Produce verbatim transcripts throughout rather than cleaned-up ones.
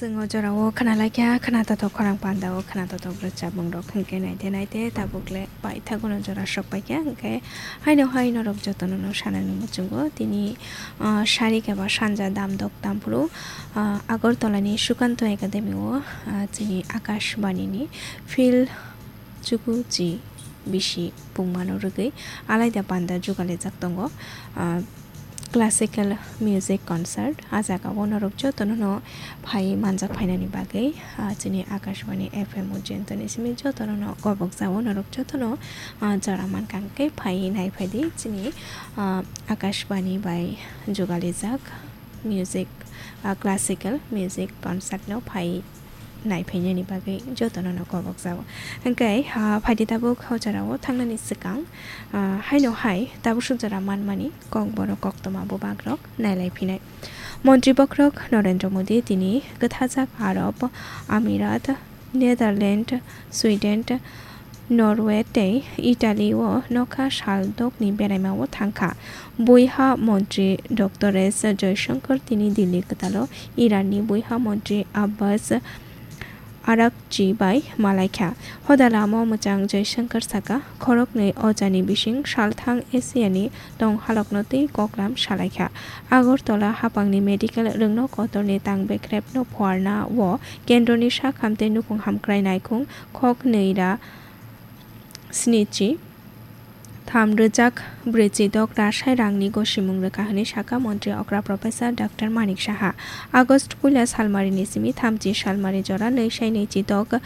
Chwng o jorao khwnalaikha, khwnatotok khorang pandao khwnatotok rwchapmung rok hwnkhe naite naite tabuk le paithagono jora sokpaikha, hwnkhe haino hai norok jotono no sanani muchungo tini, ah, sari khe ba sanja damdok tamphuru, ah, Agartala ni Sukanto Academy o, ah, chini Akashbani ni field chuku chi bisi pungmano rwgwi alaida panda jugalijak tongo, ah, classical music concert. A jagao norok jotono no phai manjak phainani bagwi, ah, chini Akashbani F M Ujjainto ni simi jotono no gobok jao norok jotono, ah, jora mankha hwnkhe phai nai phaidi chini, ah, Akashbani bai jugalijak music, ah, classical music concert no phai nai phainani bagwi jotono no kobok jao. Hwnkhe, ah, phaidi tabuk o jorao thangnani swkang, ah, haino hai tabuk suk jora manmani kokborok koktwma bubagrok nailai phinai. Montri bokhorok Narendra Modi tini kwthajak Arab Amirat, Netherlands, Sweden, Norway tei Italy o nokha sal dokni beraima o thangkha. Buiha montri Doctor S Jaishankar tini Delhi kwtalo Iranni buiha montri Abbas Araghchi bai malaikha. Hoda lama mwchang Jaishankar saka, khoroknwi o jani bising salthang Asiani tong halokno tei koklam salaikha. Agartala hapangni medical rwngno kotorni tang bekrepno phuarna o kendroni sak hamtei nukhung hamkrai naikhung khok nwi ra snichi tham rwjak brwichi dok rasai rangni gosimung rwkha hwnwi sakha montri okra Professor Doctor Manik Saha. August puila salmarini simi thamchi salmari jora nwi sai nwichi dok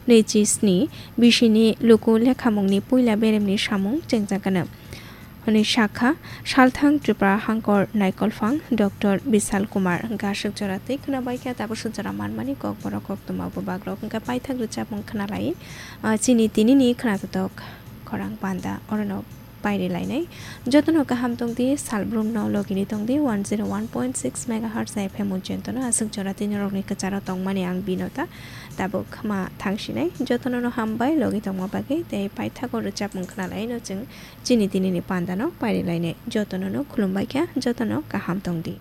nwichi sni bisini luku lekhamungni puila beremni samung chengjakgano hwnwi sakha salthang Tripura hangkor naikolphang Doctor Bisal Kumar. Hwnkhe aswk jora twi khwnabaikha, tabuk swk jora manmani kokborok koktwma bubagrok hwnkhe paithak rwchapmung khwnalai, ah, chini tinini khwnatotok khorang panda orono pairi lainai. Jotono kaham tongdi, salbrumno logini tongdi, one zero one point six megahertz F M Ujjaintono aswk jora tini norokni kwcharo tongmani ang Binota. Tabuk ma thangsinai, jotono no hambai logi tongma bagwi tei paithago rwchapmung khwnalaino chwng chini tinini pandano pairi lainai. Jotono no khulumbaikha, jotono kaham tongdi.